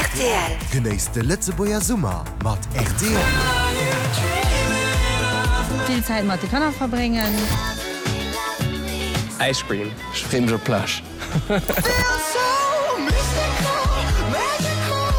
Rtl. Genéisst de Lëtzebuerger Summer mat rtl. Vill Zäit mat de Kanner verbréngen. Ice cream. Ech freeë mech op d'Plage.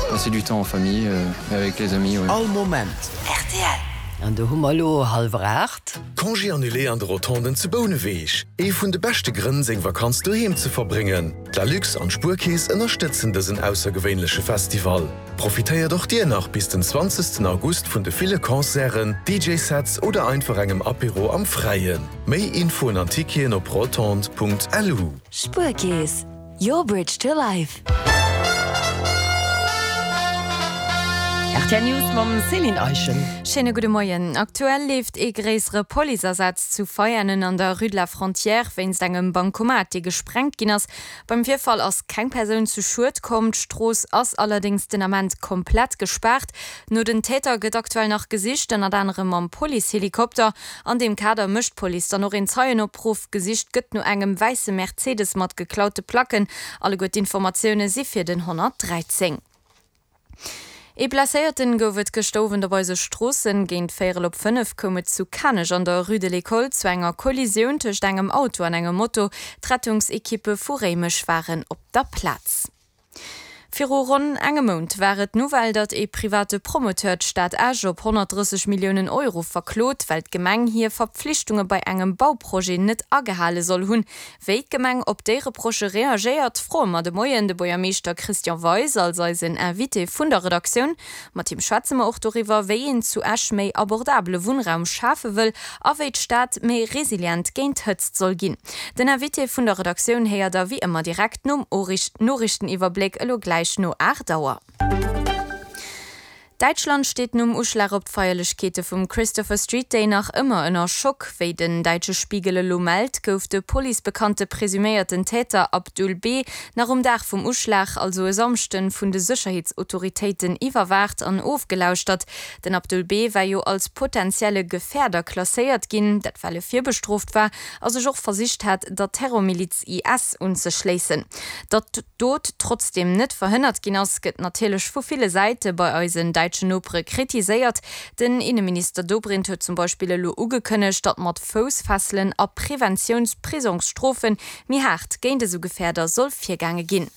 Passer du temps en famille et avec les amis, ouais. All Moment. Rtl. An do hu mer elo hallwer 8. Congé annulé an de Rotonden zu Bouneweg, Ee vun de beschte Grënn seng Vakanz doheem ze verbréngen. D'Lalux an d'Spuerkeess ënnerstëtzen dësen aussergewéinleche Festival. Profitéiert och dir nach bis den 20 August vun de ville Concerten, DJ-Sets oder einfach engem Apéro am Fräien. Méi Infoen an Ticketen op rotonde.lu. Spuerkeess, your bridge to life. Rtl News mam Céline Eischen. Schéine gudde Moien. Aktuell leeft ee gréissere Policeasaz zu Veianen an der Rue de la Frontière wéinst engem Bancomat, dee gesprengt ginn ass. Beim Virfall ass keng Persoun zu Schued komm. D'Strooss ass allerdéngs den Ament komplett gespaart. No den Täter gëtt aktuell nach gesicht, ënnert anerem mam Policehelikopter. An deem Kader mécht d'Police dann och een Zeienopruff. Gesicht gëtt no engem wäisse Mercedes mat geklaute Placken. Alleguer d'Informatioune si fir den 113. Ee Blesséierten gouf et gëschter Owend op eise Stroossen. Géint véierel op 5 koum et zu Kanech an der Rue de l'École zu enger Kollisioun tëscht engem Auto an engem Moto. D'Rettungsekippe vu Réimech waren op der Plaz. Viru ronn engem Mount war et d'Nouvelle, datt ee private Promoteur d'Stad Esch op 130 Milliounen Euro verklot, well d'Gemeng hir Verpflichtunge bei engem Bauprojet net agehale soll hunn. Wéi d'Gemeng op déi Reprochë reagéiert, froe mer de Moien de Buergermeeschter Christian Weis als eisen Invité vun der Redaktioun. Mat him schwätze mer och doriwwer, wéi een zu Esch méi abordabele Wunnraum schafe wëll a wéi d'Stad méi resilient géint Hëtzt soll ginn. Den Invité vun der Redaktioun héiert der wéi ëmmer direkt nom Noriichteniwwerbléck elo gläich no 8 Auer. Däitschland steet nom Uschlag op d'Feierlechkeete vum Christopher Street Day nach ëmmer ënner Schock. Wéi den däitsche Spiegel elo mellt, gouf de policebekannte presuméierten Täter Abdul B. nach um Dag vum Uschlag, also e Samschden, vun de Sécherheetsautoritéiten iwwerwaacht an ofgelauschtert. Den Abdul B. war jo als potentielle Gefäerder klasséiert ginn, dat well e virbestrooft war a sech och versicht hat, der Terrormiliz IS unzeschléissen. Datt d'Dot trotzdeem net verhënnert ginn ass, gëtt natierlech vu ville Säite bei eisen däitschen Nopere kritiséiert. Den Inneminister Dobrindt huet zum Beispill elo ugekënnegt, datt mat Foussfesselen a Preventiounsprisongsstrofe méi haart géint esou Gefäerder soll virgaange ginn.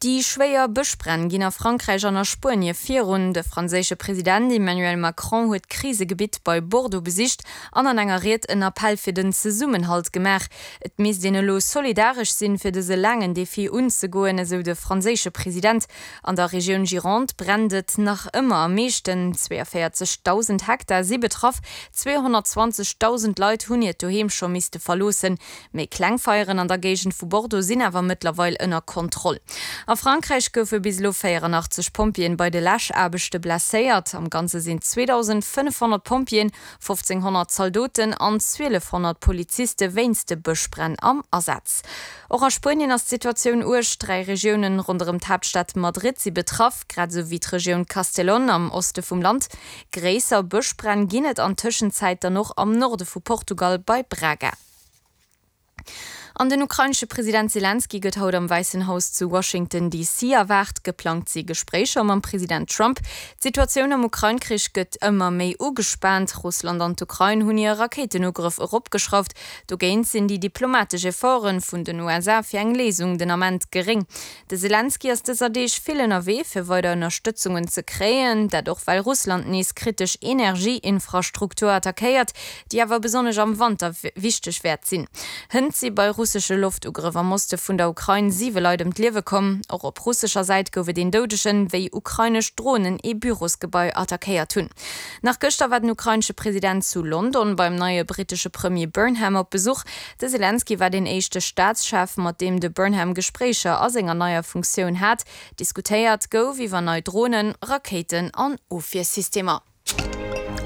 Déi schwéier Bëschbränn ginn a Frankräich an a Spuenie virun. De franséische President Emmanuel Macron huet d'Krisegebitt bei Bordeaux besicht an an enger Ried en Appell fir den Zesummenhalt gemaach. Et misst een elo solidaresch sinn, fir dëse laangen Defi unzegoen, esou de franséische President. An der Regioun Gironde brennt et nach ëmmer am meeschten. 42.000 Hektar si betraff, 220.000 Leit hunn hiert Doheem scho misste verloossen. Méi kleng Feieren an der Géigend vu Bordeaux sinn awer mëttlerweil ënner Kontroll. A Frankräich goufe bis elo 84 Pompjeeën bei de Läschaarbechte blesséiert. Am Ganze sinn 2.500 Pompjeeën, 1.500 Zaldoten an 1.200 Poliziste wéinst de Bëschbränn am Asaz. Och a Spuenien ass d'Situatioun uerg. Dräi Regiounen ronderëm d'Haaptstad Madrid si betraff, grad esou wéi d'Regioun Castellón am Oste vum Land. Gréisser Bëschbränn ginn et an Tëschenzäit dann och am Norde vu Portugal bei Braga. An den ukrainesche President Selenskyj gëtt haut am Wäissen Haus zu Washington DC erwaart. Geplangt si Gespréicher mam President Trump. D'Situatioun am Ukrain-Krich gëtt ëmmer méi ugespaant. Russland an d'Ukrain hunn hir Rakéitenugrëff eropgeschrauft. Dogéint sinn déi diplomatesch Efforte vun den USA fir eng Léisung den Ament geréng. De Selenskyj ass dëser Deeg vill ënnerwee, fir weider Ënnerstëtzungen ze kréien. Dat och well Russland nees kritesch Energieinfrastruktur attackéiert, déi awer besonnesch am Wanter wichteg wäert sinn. Hënt si bei russesche Loftugrëff am Oste vun der Ukrain siwe Leit ëm d'Liewe komm. Och op russescher Säit gouf et een Doudegen, wéi ukrainesch Dronen ee Bürosgebai attackéiert hunn. Nach gëschter war den ukrainesche President zu London beim neie brittesche Premier Burnham op Besuch. De Selenskyj war deen éischte Staatschef, mat deem de Burnham Gespréicher a senger neier Funktioun hat. Diskutéiert gouf iwwer nei Dronen, Rakéiten an Ofwiersystemer.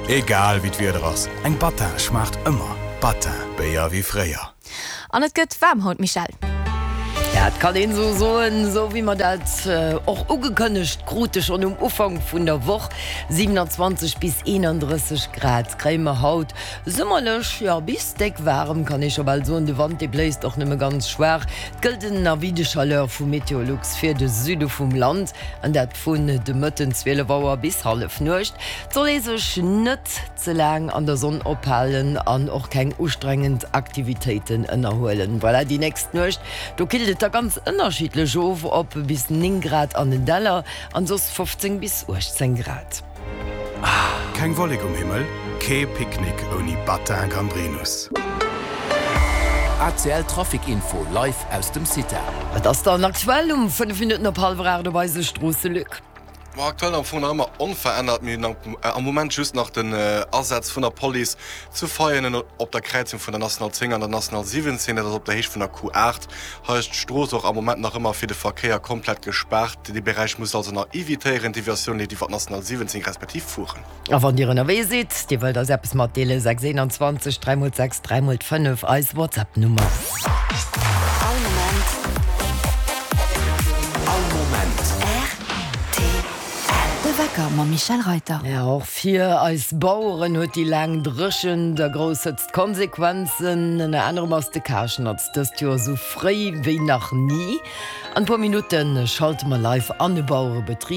Egal wéi d'Wieder ass, eng Battin schmaacht ëmmer. Battin, Béier wéi fréier. An et gëtt waarm haut, Michèle. Dat kann een esou soen, esou wéi mer dat och ugekënnegt krute schonn um Ufank vun der Woch. 27 bis 31 Grad kréie mer haut, summerlech, jo bis déck waarem kann ee scho bal soen. De Wand dee bléist och nëmme ganz schwaach. Et gëllt en Avis de chaleur vu Meteolux fir de Süde vum Land, an dat vun de Mëtten 12 Auer bis Hallefnuecht. Et soll ee sech net ze laang an der Sonn ophalen an och keng ustrengend Aktivitéiten ënnerhuelen. Voilà, déi nächst Nuecht, do killt et da ganz ënnerschiddlech of, op bis 9 Grad an den Däller an soss 15 bis 18 Grad. Keng Wollek um Himmel, kee Picknick ouni Batin Gambrinus. ACL Trafic Info live aus dem CITA. Wat ass dann aktuell um 5 Minutten op hallwer 8 op eise Stroosse, Luc? Ma aktuell am Fong nach ëmmer onverännert. Mir hunn am Moment just nach den Asaz vun der Police zu Veianen op der Kräizung vun der National 10 an der National 17, dat ass op der Héicht vun der Q8. Hei ass d'Strooss och am Moment nach ëmmer fir de Verkéier komplett gespaart. Dee Beräich musst also nach evitéieren. D'Deviatioun leeft iwwer d'National 17 respektiv Furen. A wann Dir ënnerwee sidd, Dir wëllt eis eppes matdeelen, 6 21 3 mol 6 3 mol 5, eis WhatsApp-Nummer. All Moment. All Moment. Rtl. De Wecker mam Michèle Reyter. Ja, och fir eis Baueren huet déi laang Dréchent a grouss Hëtzt Konsequenzen. Ënner anerem ass de Karschnatz dëst Joer esou fréi wéi nach ni. An e puer Minutte schalte mer live an e Bauerebetrib.